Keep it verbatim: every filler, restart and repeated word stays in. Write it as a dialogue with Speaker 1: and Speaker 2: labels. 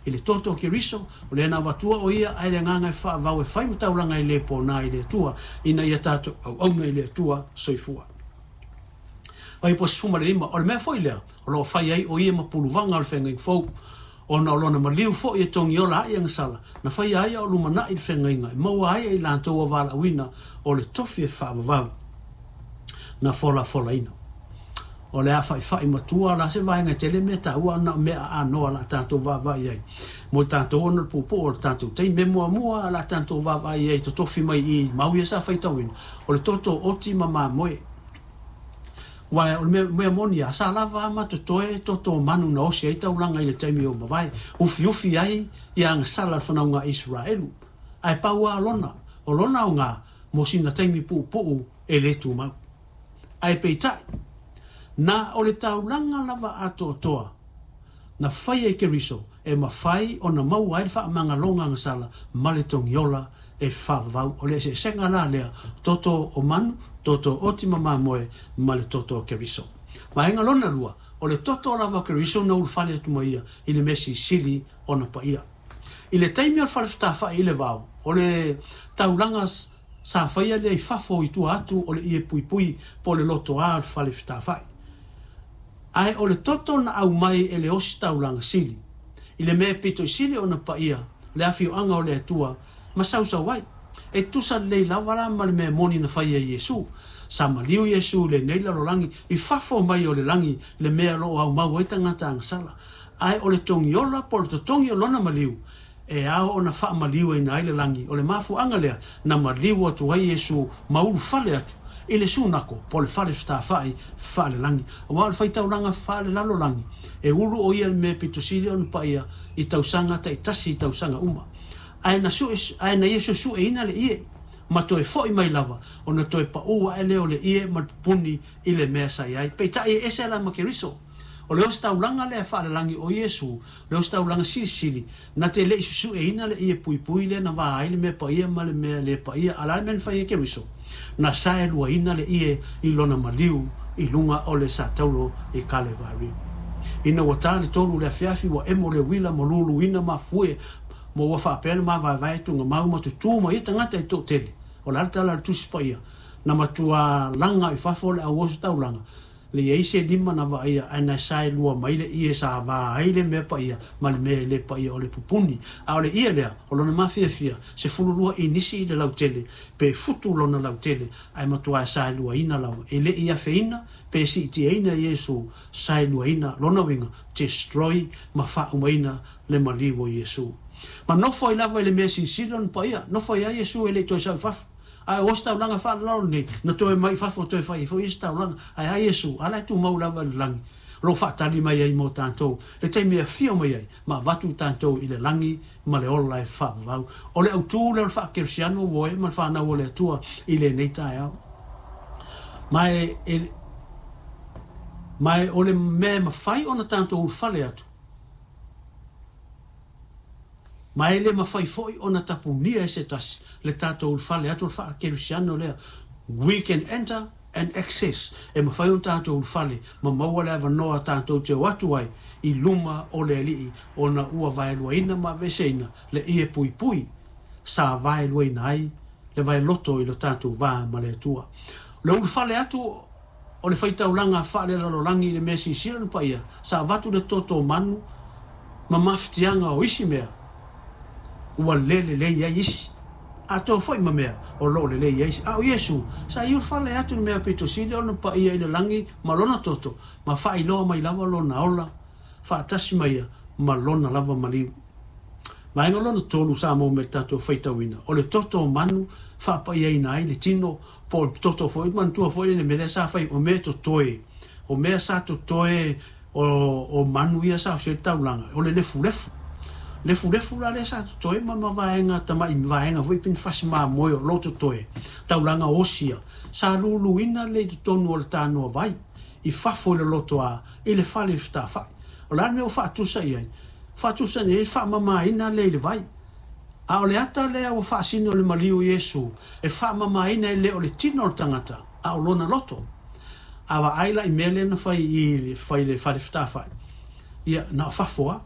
Speaker 1: I le toto o Keriso, o lea na avatua o ia ae le agaga e faavavau e fai ma taulaga e le pona i le Atua, ina ia tatou auauna i le Atua soifua. Fuaiupu sefulu ma le lima, o le mea foi lea o lo o fai ai o ia ma puluvaga o le feagaiga fou, ona o lona maliu foi e togiola ai agasala, na faia ai a o lumanai le feagaiga e maua ai e i latou ua valaauina o le tofi e faavavau na folafolaina. O le a faifai matua la se vaega tele mea taua na o mea aanoa la tatou vaavaai ai. Mo tatou ona le puupuu o le tatou taimi. Mea muamua la tatou vaavaai ai totofi mai i mau ia sa faitauina, o le toto oti ma mamoe. Aua o le mea, mea moni lava, sa lava ma totoe toto manu na osi ai taulaga i le taimi o mavae, ufiufi ai ia agasala le fanauga a Isaraelu. Ae pau lava lona, o lona aoga mo sina taimi puupuu e le tumau. Ae peitai, na o le taulaga lava atoatoa na faia i Keriso e mafai ona maua ai le faamagaloga agasala ma le togiola e faavavau. O le eseesega la lea, toto o manu, toto oti ma mamoe ma le toto o Keriso. Vaega lona lua, o le toto lava o Keriso na ulufale atu ma ia i le mea silisili ona paia. I le taimi o le fale fetafai i le vao, o le taulaga sa faia lea i fafo i tua atu o le ie puipui po o le lotoa o le fale fetafai. Ae o le toto na aumai e le ositaulaga sili, i le mea e pito i sili ona paia le afioaga o le Atua ma sausau ai. E tusa lelei lava la ma le mea moni na faia e Iesu. Sa maliu Iesu i lenei lalolagi i fafo mai o le lagi le mea o lo o aumau ai tagata agasala. Ae o le togiola po o le totogi o lona maliu e ao ona faamaliuina ai le lagi. O le mafuaaga lea na maliu atu ai Iesu ma ulufale atu i le sunako po o le fale fetafai faalelagi. Aua o le faitaulaga faalelalolagi e ulu o ia i le mea pito sili ona paia i tausaga taitasi i tausaga uma. Ae na sue, ae na ia suesueina le ie ma toe foi mai lava ona toe paʻu aʻe lea o le ie ma le pupuni i le mea sa i ai. Peitai e ese la ma Keriso. O le ositaulaga lea faalelagi o Iesu, le ositaulaga silisili, na te le i susueina le ie puipui lea na va ai le mea paia ma le mea le paia, a o le a le mea na fai ai Keriso? Na saeluaina le ie i lona maliu i luga o le sataulo i Kalevari. Ina ua ta le tolu o le afiafi, ua emo le uila ma luluina mafue, ma ua faapea le mavaevae tugamau ma tutū ma ia tagata e toatele. O le a le tala a le Tusi Paia? Na matua laga i fafo le au ositaulaga, le i ai se lima na vaaia, ae na saelua mai le ie sa va ai le mea paia ma le mea e le paia o le pupuni. A o le ie lea, o lona mafiafia, sefulu lua inisi i le lautele, pe futu lona lautele, ae matua e saeluaina lava. E le i afeina, pe siitiaina Iesu, saeluaina lona uiga, destroy, ma faaumaina le maliu o Iesu. Ma nofo ai lava i le mea silisili lona paia, nofo ai lava Iesu e le i toe sau i fafo. Ae o ositaulaga faalalalo nei, na toe mai i fafo toe fai ai foi ositaulaga. Ae a Iesu, a la e tumau lava i le lagi, o lo o faatali mai ai mo tatou, le taimi e afio mai ai, ma avatu tatou i le lagi ma le ola e faavavau. O le autū lea o le faakerisiano ua oe ma le fanau o le Atua i lenei taeao. Ma e, e, ma e o le mea e mafai ona tatou ulufale atu, ma e le mafai foi ona tapunia e se tasi le tatou ulufale atu o le faakerisiano lea. We can enter and access, e mafai ona tatou ulufale ma maua le avanoa tatou te o atu ai i luma o le Alii ona ua vaeluaina ma aveeseina le ie puipui sa vaeluaina ai le vaeloto i lo tatou va ma le Atua. O le ulufale atu o le faitaulaga faalelalolagi i le mea silisili ona paia, sa avatu le toto manu ma mafatiaga o isi mea ua le lelei ai isi, atoa foi ma mea o lo o lelei ai isi. A o Iesu, sa i ulufale atu i le mea pito sili ona paia i le lagi ma lona toto, ma faailoa mai lava lona ola faatasi ma ia ma lona lava maliu. Vaega lona tolu sa maua mai le tatou faitauina, o le toto o manu faapaiaina ai le tino, po o le toto foi, manatua foi le mea lea sa fai, o mea totoe, o mea sa totoe o, o manu ia sa osi ai le taulaga, o le lefulefu. Lefulefu la lea sa totoe ma ma vaega tamai vaega foi pinifasi mamoe o lo totoe, taulaga osia, sa luluina le i totonu o le tanoa vai, i fafo i le lotoa, i le fale fetafai. O le a le mea ua faatusa i ai? Faatusa i ai le faamamaina lea i le vai. A o le ata lea ua faasino le maliu o Iesu, e faamamaina e le o le tino o le tagata, a o lona loto. A vaai la i mea lea na fai i fai le fale fetafai, ia, na o fafo lava.